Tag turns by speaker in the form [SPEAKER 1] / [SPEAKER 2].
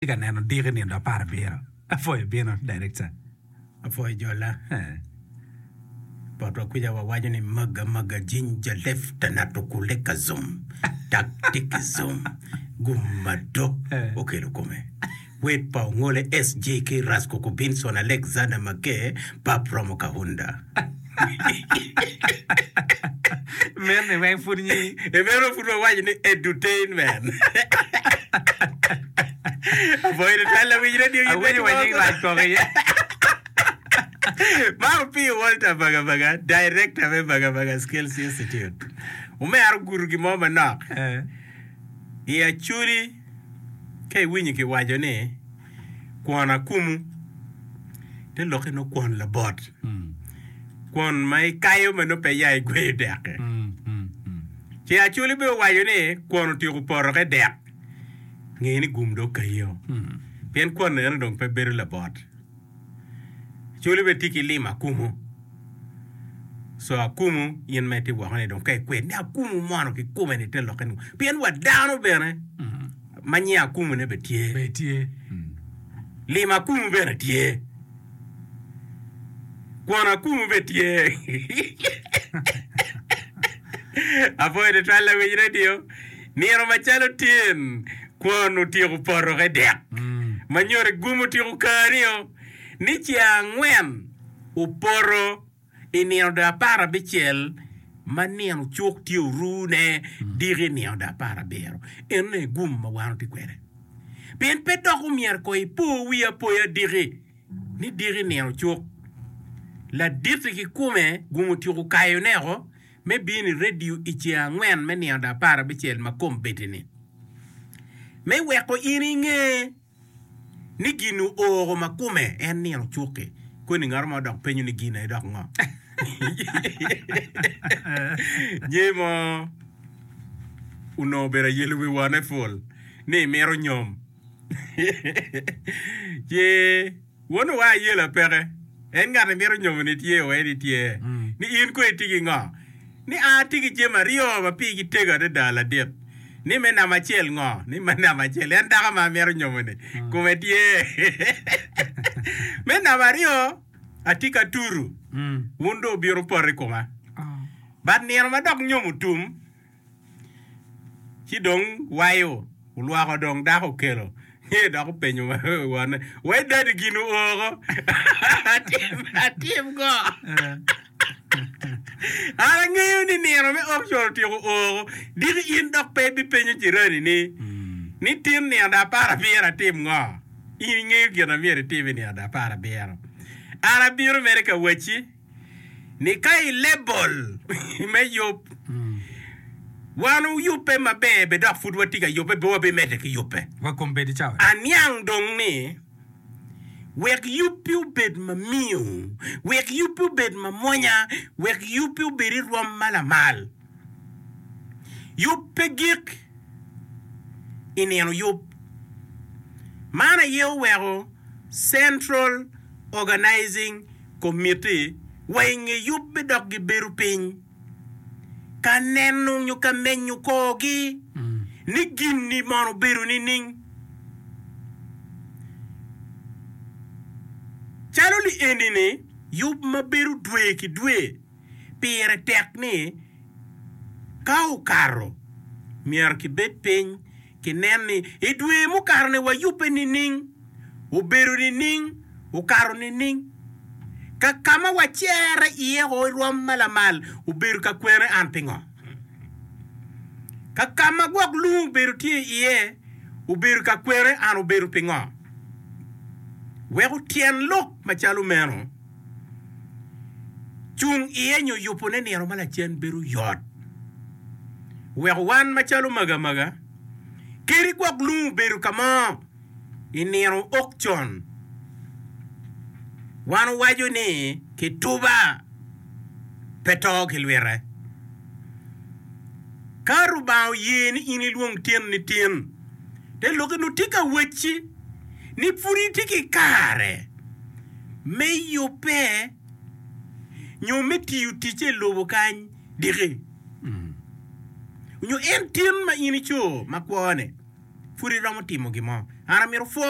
[SPEAKER 1] Atye ka neno diki nino aparabiro. Apwoyo bino, Director.
[SPEAKER 2] Apwoyo jola. Botwa kwica wawaco ni maga maga jinja lefta natukuleka zum tak tiki zum gum mado okelo kome. Wed pa Ongole SJK Raskoko Binson Alexander Maker Pap Romo Kahunda.
[SPEAKER 1] Meno ni weng pud nyi.
[SPEAKER 2] E meno pud wawaco ni edutainment. Apwoyo tutwal lawiny radio in
[SPEAKER 1] Awinyo wa nying rac kok iye.
[SPEAKER 2] Man Opiyo Walter Bagabaga, Director me Bagabaga Skills Institute. Omera ogudo gin mo manok.
[SPEAKER 1] Eh.
[SPEAKER 2] I Acholi, ka iwinyo kiwaco ni kwon akumu, te lokke nongo kwon labot. Kwon ma ikayo ma nongo pe ya igweyo dek-ki. Ci Acholi bene owaco ni kwon otyeko poto ke dek, nge ni gum dong okayio. Pien kwon eno dong pe bedo labot. Acholi bene tye ki limo akumu. So akumu in ma itye woko ni dong ka ikwed ni akumu mono kikome ni te lokke ni pien wa dano bene ma nyinge akumu ne bene tye.
[SPEAKER 1] Bene tye.
[SPEAKER 2] Limo akumu bene tye. Kwon akumu bene tye. Apwoyo tutwal lawiny radio. Nino macalo tyen kwon otyeko poto ke dek. Ma nyuto gum otyeko kani-o ni ceng angwen opoto i nino do aparabicel ma nino cuk tye orune diki nino do aparabiro. Eno aye gum ma wan watye kwede. Pien pe dok omyero ko ipo wi apoya diki ni diki nino cuk. Laditi kikome gum otyeko kayone oko me bino i redio i ceng angwen me nino do aparabicel ma kombeddi-ni me weko in inge ni gin ooro ma kome en nino cuk-ki. Koni ngat mo dok penyo ni gin aye dok ngo? Nyer mo onongo obedo ayelo wi wone pul ni emito nyom. Ci won owa ayela peke. En ngat emito nyomo-ni tye o en itye. Ni in kong itye ki ngo? Ni an atye ki jami aryo ma pigi tego adada ladit. Ni me namba acel ngo? Ni me namba acel en dako ma amito nyomo-ni kome tye. Me namba aryo atye ka turu wun dong wubino wupoto i koma. But nino ma dok nyom otum Ci dong wayo olwoko dong dako okelo ci dok openyo wonne, Wai dadi gin ooko atim go? An angeyo ni nino me auction otyeko ooko, diki in dok pe ibipenyo jirani ni, ni tin nino do aparabiro atim ngo? In ingeyo gin ma myero itim i nino do aparabiro. An abino mere ka wacci. ni ka i lebol me yub, wan oyubbe maber be dok pud watye ka yubbe be wabimedde ki yubbe.
[SPEAKER 1] Wa kombeddi cawa.
[SPEAKER 2] Aniang dong ni wek yubbi obed mamiyo, wek yubbi obed mamwonya, wek yubbi obed i rwom ma lamal. Yub pe gik i nino yub. Man aye oweko Central Organizing Committee wa i nge yubbe dok gibedo piny ka neno nyo ka menyo korgi ni gin-ni mono obedo nining. Calo li eni-ni, yub ma bedo dwe ki dwe pire tek ni ka okato myero kibed piny kinen ni i dwe mukato-ni wayubbe nining, obedo nining, okato nining, ka ka ma wacerre iye o i rwom ma lamal obedo ka kwene an pingo, ka ka ma gwok lung obedo tye iye obedo ka kwene an obedo pingo. Weko tyen lok macalo meno cung iye nyo yubone nino ma lacen bedo yot. Weko wan macalo magamaga, kadi gwok lung obedo ka mo i nino okcon, wan owaco ni kituba pe to ki lwite. Ka Rubanga oye ni in ilwong tin ni tin, te lokke nongo tye ka wacci ni pud itye ki kare me yubbe nyo me tiyo ticce i lobo kany diki. Nyo en tin ma in ico ma kwo-ni, pud iromo timo gin mo. An amito pwono.